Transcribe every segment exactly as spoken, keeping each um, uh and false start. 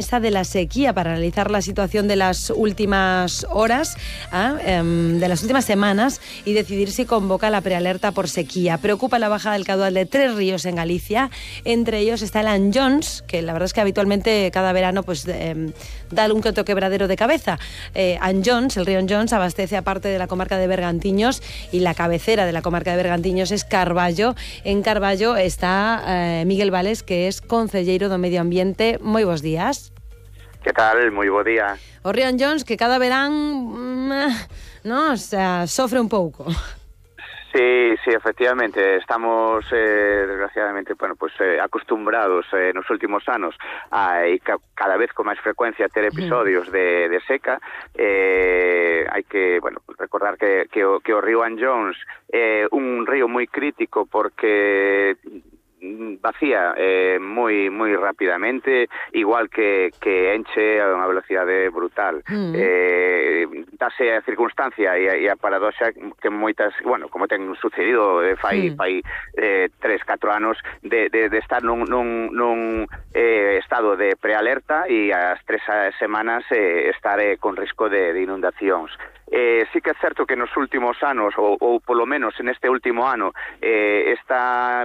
de la sequía para analizar la situación de las últimas horas, ¿eh? de las últimas semanas y decidir si convoca la prealerta por sequía. Preocupa la bajada del caudal de tres ríos en Galicia, entre ellos está el Anllóns, que la verdad es que habitualmente cada verano pues eh, da un que otro quebradero de cabeza. Eh, Anllóns, el río Anllóns, abastece a parte de la comarca de Bergantiños y la cabecera de la comarca de Bergantiños es Carballo. En Carballo está eh, Miguel Vales, que es concelleiro do Medio Ambiente. Moi bons días. Que tal? Moi bo día. O río Anllóns, que cada verán no, o sea, sofre un pouco. Sí, sí, efectivamente, estamos eh, desgraciadamente, bueno, pues eh, acostumbrados eh, nos últimos anos a e ca cada vez con máis frecuencia ter episodios de, de seca. Eh, hai que, bueno, recordar que, que, o, que o río Anllóns é eh, un río moi crítico porque vacía eh, moi moi rapidamente, igual que, que enche a unha velocidade brutal. Mm. Eh, dase a circunstancia e a, e a paradoxa que moitas, bueno, como ten sucedido eh, fai, mm. fai eh, tres, catro anos de, de, de estar nun, nun, nun eh, estado de prealerta e as tres semanas eh, estar eh, con risco de, de inundacións. Eh, sí que é certo que nos últimos anos, ou, ou polo menos en este último ano, eh, esta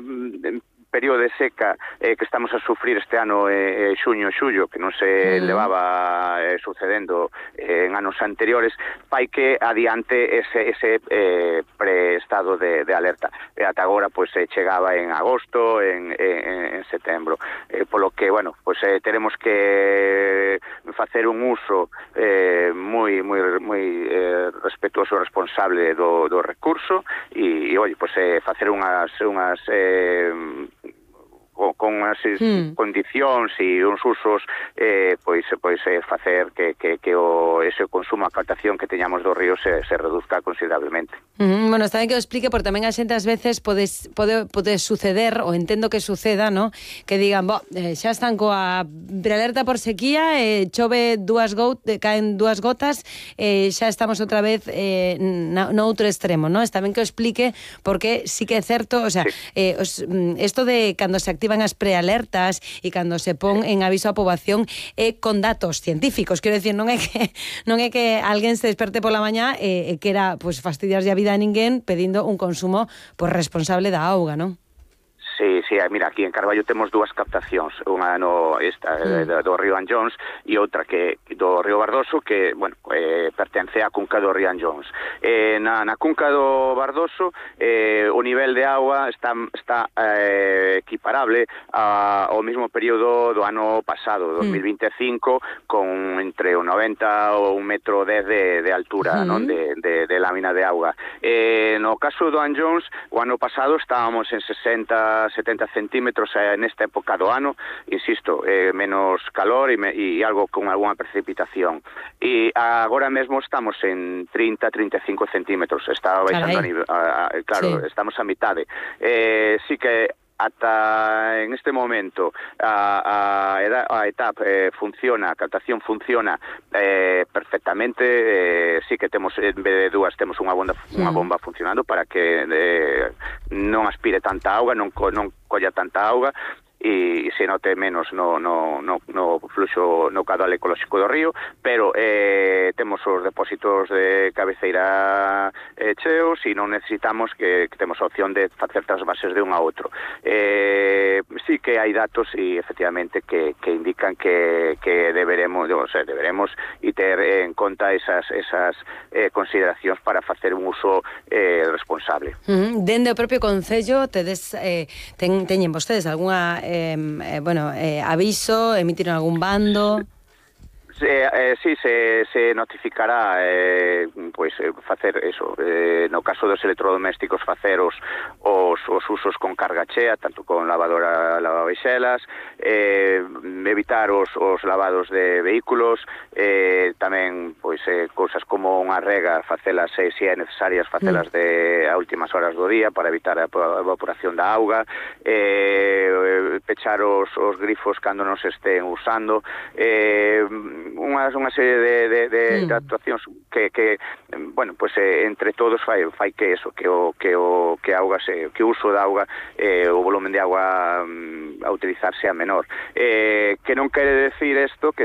período de seca eh, que estamos a sufrir este ano eh, xuño e xullo, que non se uh-huh. levaba eh, sucedendo eh, en anos anteriores, fai que adiante ese, ese eh, pre-estado de, de alerta. E ata agora pues, eh, chegaba en agosto, en, en, en setembro. Eh, polo que, bueno, pues eh, teremos que facer un uso eh, moi moi moi eh, respetuoso e responsable do, do recurso e, e oi, pues, eh, facer unhas unhas eh, con as hmm. condicións e uns usos eh, pois, pois eh, facer que, que, que o, ese consumo, a captación que teñamos do río se, se reduzca considerablemente. Mm, bueno, está ben que o explique, porque tamén a xente ás veces pode, pode, pode suceder, ou entendo que suceda, ¿no? Que digan, bo, eh, xa están coa prealerta por sequía, eh, chove dúas got, eh, caen dúas gotas, eh, xa estamos outra vez eh, no, no outro extremo, ¿no? Está ben que o explique, porque sí que é certo, o sea, sí. eh, os, esto de cando se activa van as prealertas e cando se pon en aviso a poboación é con datos científicos, quero decir, non é que non é que alguén se desperte pola mañá e, e quera pues, fastidiarlle a vida a ninguén pedindo un consumo pues, responsable da auga, non? Sí, sí, mira, aquí en Carballo temos dúas captacións, unha no esta mm. do, do río Anllóns e outra que do río Bardoso que, bueno, eh, pertence á cunca do río Anllóns. Eh, na, na cunca do Bardoso eh, o nivel de agua está, está eh, equiparable a, ao mesmo período do ano pasado, dos mil vinte e cinco, mm. con entre o noventa ou un metro dez de, de altura, mm. non, de, de, de lámina de auga. Eh, no caso do Anllóns, o ano pasado estábamos en sesenta setenta centímetros eh, nesta época do ano, insisto, eh, menos calor e, me, e algo con algunha precipitación. E agora mesmo estamos en trinta, trinta e cinco centímetros, está baixando a nivel, a, a, claro, sí. Estamos a mitade. Eh, sí que ata en este momento a, a, a etapa eh, funciona, a captación funciona eh, perfectamente, eh, sí que temos en vez de dúas temos unha bomba, unha bomba funcionando para que eh, non aspire tanta auga, non, non colla tanta auga e se note menos no, no, no, no fluxo, no caudal ecolóxico do río, pero eh, temos os depósitos de cabeceira eh, cheos e non necesitamos que, que temos a opción de facer trasvases de un a outro. Eh, sí que hai datos e efectivamente que, que indican que, que deberemos, o sea, deberemos e ter en conta esas, esas eh, consideracións para facer un uso eh, responsable. Uh-huh. Dende o propio Concello tedes, eh, ten, teñen vostedes algunha Eh, eh, bueno, eh, aviso, emitiron algún bando? Se, eh, sí, se, se notificará eh, pois, eh, facer eso, eh, no caso dos electrodomésticos facer os, os, os usos con carga chea, tanto con lavadora, lavaveixelas, eh, evitar os, os lavados de vehículos, eh, tamén pois, eh, cousas como unha rega, facelas eh, se é necesarias, facelas de a últimas horas do día para evitar a evaporación da auga, eh, pechar os, os grifos cando non se estén usando, eh, unha, unha serie de, de, de, mm. de actuacións que, que bueno, pues eh, entre todos fai, fai que eso, que o que o que a auga se, que o uso da auga, eh, o volumen de agua mm, a utilizar sea menor. Eh, que non quere decir isto que